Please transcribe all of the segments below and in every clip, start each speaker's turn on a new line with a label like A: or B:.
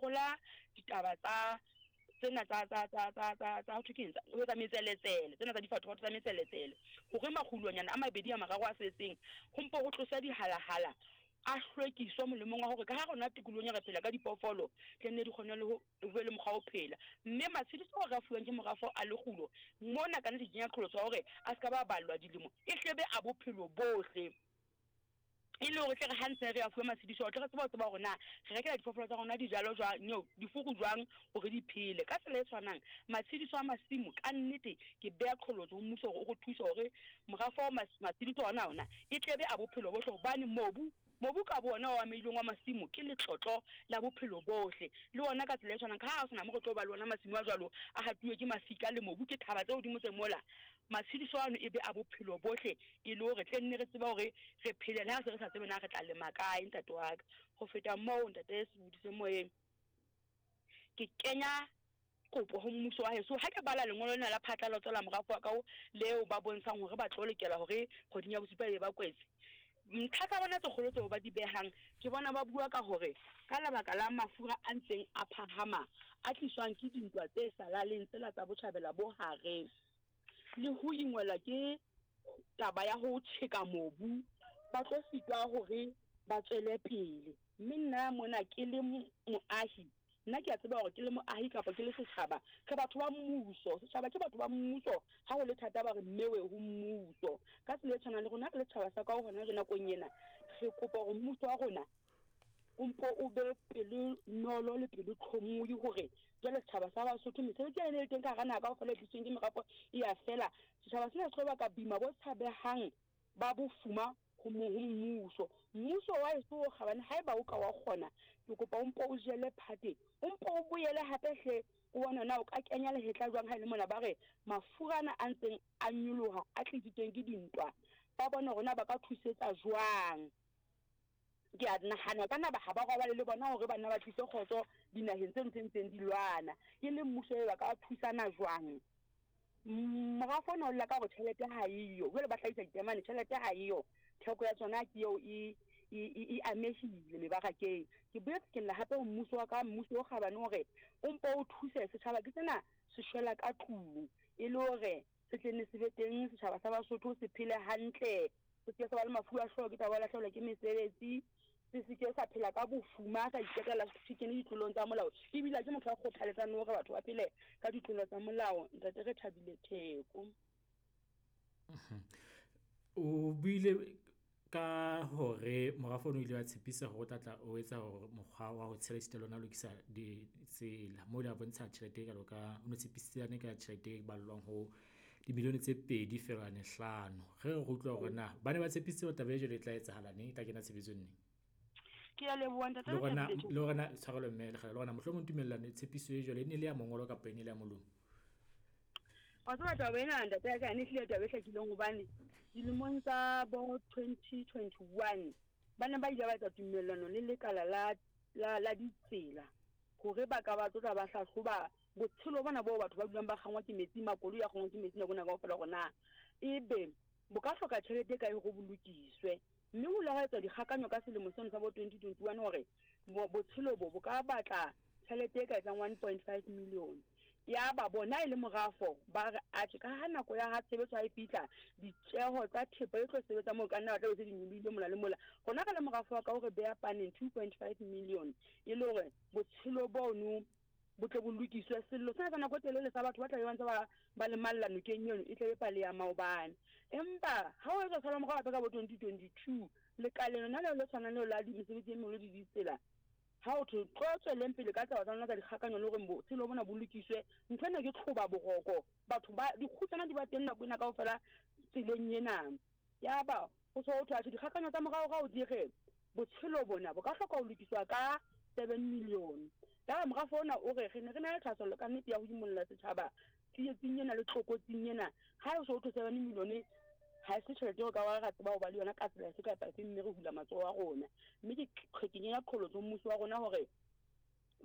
A: lekola ditaba tsa tsena tsa tsa tsa tsa tsa tsa ho thwe keng tsa ho etsa metseletsele tsena tsa difathofatho tsa metseletsele hore makgulonyana a mabedi a mararo a setseng ho mpo ho tloswe dihalahala a hlwekiswe molemong wa hore ka ha rona tikolohong re phela ka diphoofolo tle nne di kgone le ho ho be le mokgwa wa ho phela. Mme matshediso ao re a fuwang ke morafo a lekgulo mona ka nnete ke kenya qholotso ya hore a se ka ba ballwa dilemo e hle be a bophelo bohle. E le hore tle re ha ntse re a fuwe matshediso ao tle re tsebe ho tseba hore na re rekela diphoofolo tsa rona dijalo jwang, no, difuru jwang hore di phele. Ka tsela e tshwanang, matshediso a masimo ka nnete ke beha qholotso ho mmuso hore o re thuse hore morafo wa matshediso ona ona e tle be a bophelo bohle hobane mobu Mobu ka boona o amehileng wa masimo ke letlotlo la bophelo bohle. Le wona ka tsela e tshwanang, ka ha ho se na mo re tlo ba le wona masimo a jwalo a hatuwe ke mafika le mobu ke thaba tse hodimo tse mola, matshediso ano e be a bophelo bohle e le hore tle nne re tsebe hore re phele le ha se re sa tsebe na re tla lema kae, ntate wa ka. Ho feta moo, ntate Sebodi se moyeng, ke kenya kopo ho mmuso wa heso. Ha ke bala lengolo lena la phatlalatso la morafo wa ka leo ba bontshang hore ba tlo lokela hore kgweding ya bosupa e be ba kwetse, ntlha tsa bona tse kgolo tseo ba di behang, ke bona ba bua ka hore ka lebaka la mafura a ntseng a phahama a tliswang ke dintwa tse sa laleng tsela tsa Botjhabela bo Hare le ho ingwelwa ke taba ya ho tjheka mobu, ba tlo sitwa hore ba tswele pele. Mme nna mona ke le moahi, Nna ke a tseba hore ke le moahi kapa ke le setjhaba, re batho ba mmuso. Setjhaba ke batho ba mmuso. Ha ho le thata ba re mmewe ho mmuso. Ka tsela e tshwanang le rona re le setjhaba sa ka hona jwale nakong ena, re kopa hore mmuso wa rona o mpo o be pelonolo le pelotlhomohi hore jwale setjhaba sa Basotho mesebetsi ena e le teng ka hara naha kaofela e tlisitsweng ke merafo e ya fela. Setjhaba sena se tlo baka boima bo tshabehang ba bofuma ho ho mmuso. Mmuso wa heso o kgabane, haeba o ka wa kgona, ke kopa o mpo o jele phate, o mpo o boele hape hle, o bone na o ka kenya lehetla jwang ha e le mona ba re mafura ana a ntseng a nyoloha a tlisitsweng ke dintwa, ba bone hore na ba ka thusetsa jwang. Ke a nahana ka na ba ha ba robale le bona hore ba nna ba tlise kgotso dinaheng tseno tse ntseng di lwana. E le mmuso e ba ka thusana jwang? Morafo ona o lla ka hore tjhelete ha eyo, jwale ba hlahisa ditemane, tjhelete ha eyo, theko ya tsona ke eo e e e amehile mebarakeng. Ke boetse ke lla hape ho mmuso wa ka, mmuso o kgabane hore o mpo o thuse setjhaba ke sena se shwela ka tlung e le hore se tle nne se be teng setjhaba sa Basotho se phele hantle, se se ke sa ba le mafu a hlooho ke taba ya ho lahlehelwa ke mesebetsi, se se ke sa phela ka bofuma, sa iqetella se kene ditlolong tsa molao. Ebile ha ke motho ya kgothaletsang le hore batho ba phele ka ditlolo tsa molao. Ntate Rethabile Theko.
B: O buile ka hore morafo o ile wa tshepisa hore o tla tla o etsa hore mokgwa wa ho tshela esita le ona lokisa ditsela. Moo ile a bontsha tjhelete e kalo ka o no tshepisitsane ka tjhelete e ballwang ho dimilione tse 2.5. Re re utlwa hore na ba ne ba tshepisitse hore taba e jwalo e tla etsahala neng, e tla kena tshebetsong neng.
A: Ke a leboha ntate
B: Le hore na le hore na tshwarelo mme Lekgala, le hore na mohlomong tumellano tshepiso e jwalo e ne le ya mongolo kapa e ne le ya molomo.
A: Wa tseba taba ena ntate ya ka ene ehlile taba e hlakileng hobane dilemong tsa bo 2021 ba ne ba ile ba etsa tumellano le lekala la la la ditsela hore ba ka ba tlotla ba hlahloba botshelo bona boo batho ba dulang ba kgangwa ke metsi, makoloi a kgangwa ke metsi nako ena kaofela hore na ebe bo ka hloka tjhelete e kae hore bo lokiswe. Mme ho ile hwa etswa dikgakanyo ka selemo seno sa bo 2021 hore botshelo bo bo ka batla tjhelete e ka etsang 1.5 million. Yaba bona e le morafo ba re atjhe ka ha nako ya ha tshebetso ha e fihla ditjeho tsa thepa e tlo sebetsa moo ka nna ba tla be se di nyolohile mola le mola. Rona re le morafo wa ka o re beha paneng 2.5 million e le hore botshelo bono bo tle bo lokiswe. Sello sena sa nako e telele sa batho ba tla be ba ntse ba ba lemalla nokeng eno e tle be pale ya maobane. Empa ha o etswa sala morao hape ka bo 2022 lekaleng lona leo le tshwanang leo la mesebetsi e meholo le ditsela, ha ho thwe tlo tsweleng pele ka taba tsa lona tsa dikgakanyo le hore botshelo bona bo lokiswe, ntho ena ke tlhoba boroko. Batho ba dikgutsana di ba teng nako ena kaofela tseleng ena. Yaba ho so ho thwe atjhe dikgakanyo tsa moraorao di re botshelo bona bo ka hloka ho lokiswa ka 7 million. Yaba morafo ona o re re ne re na le thahasello ka nnete ya ho imolla setjhaba tsietsing ena le tlokotsing ena. Ha ho so ho thwe 7 million ha se tjhelete eo ka wa ra tseba ho ba le yona ka tsela efe kapa efe, mme re hula matsoho a rona. Mme ke ke kenya qholotso mmuso wa rona hore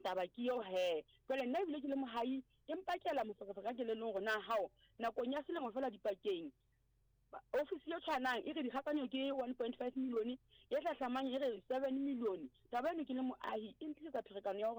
A: taba ke eo he. Jwale nna ebile ke le mohai, empa ke ela moferefere ka kelellong hore na hao nakong ya selemo feela dipakeng ofisi e tshwanang e re dikgakanyo ke 1.5 million, e hlahlamang e re 7 million. Taba eno ke le moahi e ntlisetsa pherekano ya hore